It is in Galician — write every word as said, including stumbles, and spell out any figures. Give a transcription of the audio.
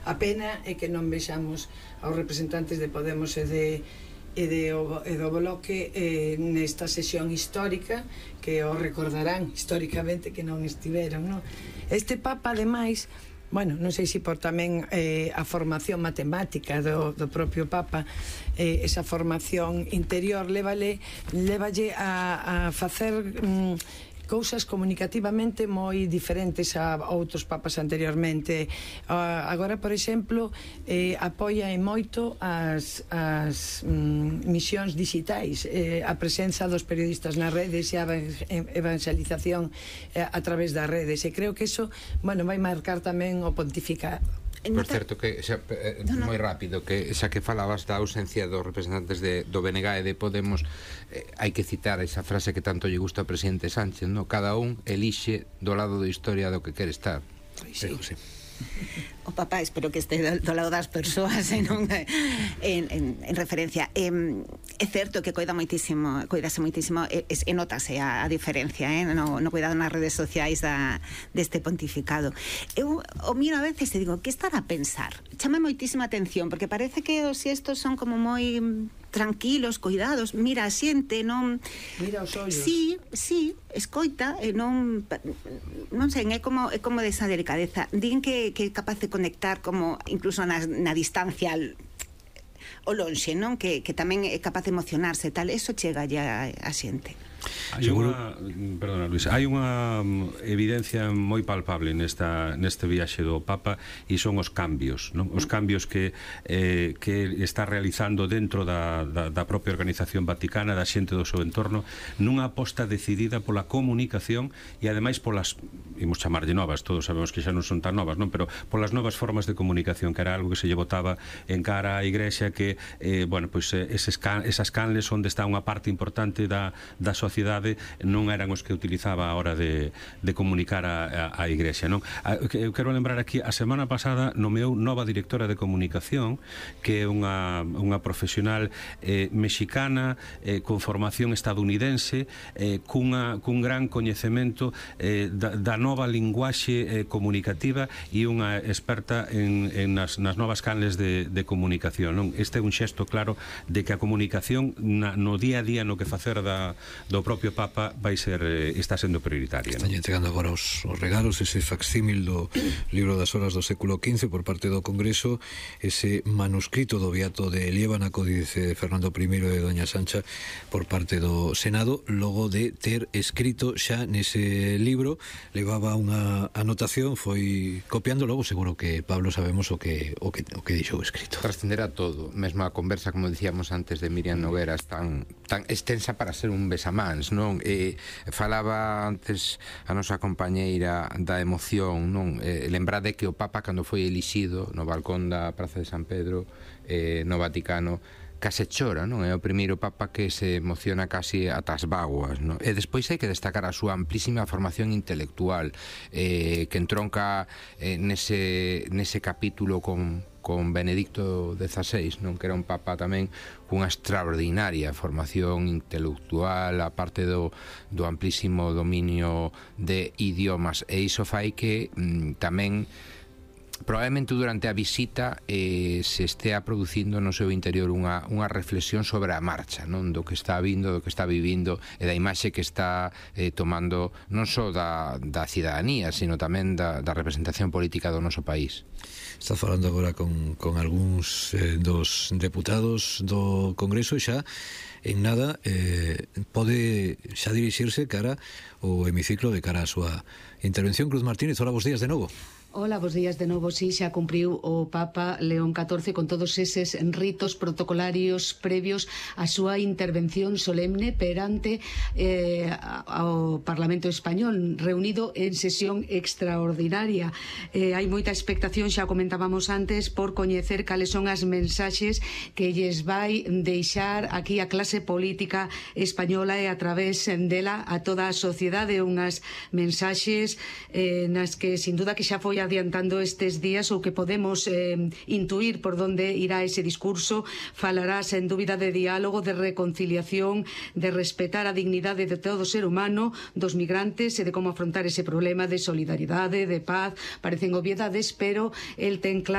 A pena é que non vexamos aos representantes de Podemos e de e, de, e do Bloque eh, nesta sesión histórica, que o recordarán históricamente que non estiveron, non? Este Papa, ademais, bueno, non sei se por tamén eh, a formación matemática do, do propio Papa, eh, esa formación interior lévale, lévalle a, a facer mm, cousas comunicativamente moi diferentes a outros papas anteriormente. Uh, agora, por exemplo, eh, apoia en moito as, as mm, misións digitais, eh, a presenza dos periodistas nas redes e a evangelización eh, a través das redes, e creo que eso, bueno, vai marcar tamén o pontificado. Por certo, que xa, eh, no, no. moi rápido, que xa que falabas da ausencia dos representantes de, do B N G e de Podemos, eh, hai que citar esa frase que tanto lle gusta ao presidente Sánchez, no? Cada un elixe do lado da historia do que quere estar. Sí, sí. O Papa, espero que este do lado das persoas e non en, en, en referencia. Eh, é certo que coida moitísimo, coidase moitísimo e, e notase a, a diferencia, eh, no, no cuidado nas redes sociais da, deste pontificado. Eu o miro a veces e digo, que estará a pensar? Chama moitísima atención, porque parece que os xestos son como moi tranquilos, cuidados, mira a xente, non... Mira os ollos. Sí, sí, escoita, e non... Non sei, é como, é como desa delicadeza. Din que, que é capaz de conectar como incluso na, na distancia o lonxe, non? Que, que tamén é capaz de emocionarse, tal. Eso chega ya a xente. Hai unha, perdona Luis, hai unha evidencia moi palpable nesta, neste viaxe do Papa, e son os cambios, non? Os cambios que, eh, que está realizando dentro da, da, da propia organización vaticana, da xente do seu entorno, nunha aposta decidida pola comunicación e ademais polas, imos chamarlle novas, todos sabemos que xa non son tan novas, non? Pero polas novas formas de comunicación, que era algo que se lle botaba en cara á Igrexa, que, eh, bueno, pois pues, eses can, esas canles onde está unha parte importante da, da sociedade non eran os que utilizaba a hora de, de comunicar a, a, a Igrexa, non? Eu quero lembrar aquí, a semana pasada nomeou nova directora de comunicación, que é unha, unha profesional eh, mexicana, eh, con formación estadounidense, eh, cunha, cun gran coñecemento eh, da, da nova linguaxe eh, comunicativa, e unha experta en, en nas, nas novas canles de, de comunicación, non? Este é un xesto claro de que a comunicación na, no día a día, no que facer da, do propio Papa vai ser, eh, está sendo prioritaria. Están entregando agora os, os regalos, ese facsímil do libro das horas do século quince por parte do Congreso, ese manuscrito do Beato de Liébana, códice de Fernando primeiro e Doña Sancha, por parte do Senado, logo de ter escrito xa nese libro. Levaba unha anotación, foi copiando, logo seguro que Pablo sabemos o que o que, o que dixou escrito. Trascenderá todo, mesmo a conversa, como dicíamos antes, de Miriam Nogueras, tan, tan extensa para ser un besamán, non? E falaba antes a nosa compañeira da emoción, non? E lembrade que o Papa, cando foi elixido no balcón da Praza de San Pedro, eh, no Vaticano, case chora, non? É o primeiro Papa que se emociona casi ata as bágoas, non? E despois hai que destacar a súa amplísima formación intelectual, eh, que entronca eh, nese, nese capítulo con con Benedicto dezasseis, non? Que era un Papa tamén cunha extraordinaria formación intelectual, a parte do, do amplísimo dominio de idiomas, e iso fai que mm, tamén probablemente durante a visita eh, se estea producindo no seu interior unha, unha reflexión sobre a marcha, non? Do que está vindo, do que está vivindo, e da imaxe que está eh, tomando non só da, da cidadanía, sino tamén da, da representación política do noso país. Está falando agora con, con algúns eh, dos deputados do Congreso, e xa en nada eh, pode xa dirixirse cara o hemiciclo de cara a súa intervención. Cruz Martínez, hola, bons días de novo. Hola, bos días de novo. Si, xa cumpriu o Papa León catorce con todos eses ritos protocolarios previos á súa intervención solemne perante eh, ao Parlamento Español, reunido en sesión extraordinaria. Eh, hai moita expectación, xa comentábamos antes, por coñecer cales son as mensaxes que lles vai deixar aquí a clase política española e a través dela a toda a sociedade, unhas mensaxes eh, nas que sin duda que xa foi adiantando estes días, ou que podemos eh, intuir por donde irá ese discurso. Falará sen dúbida de diálogo, de reconciliación, de respetar a dignidade de todo ser humano, dos migrantes, e de como afrontar ese problema de solidaridade, de paz. Parecen obviedades, pero el ten claro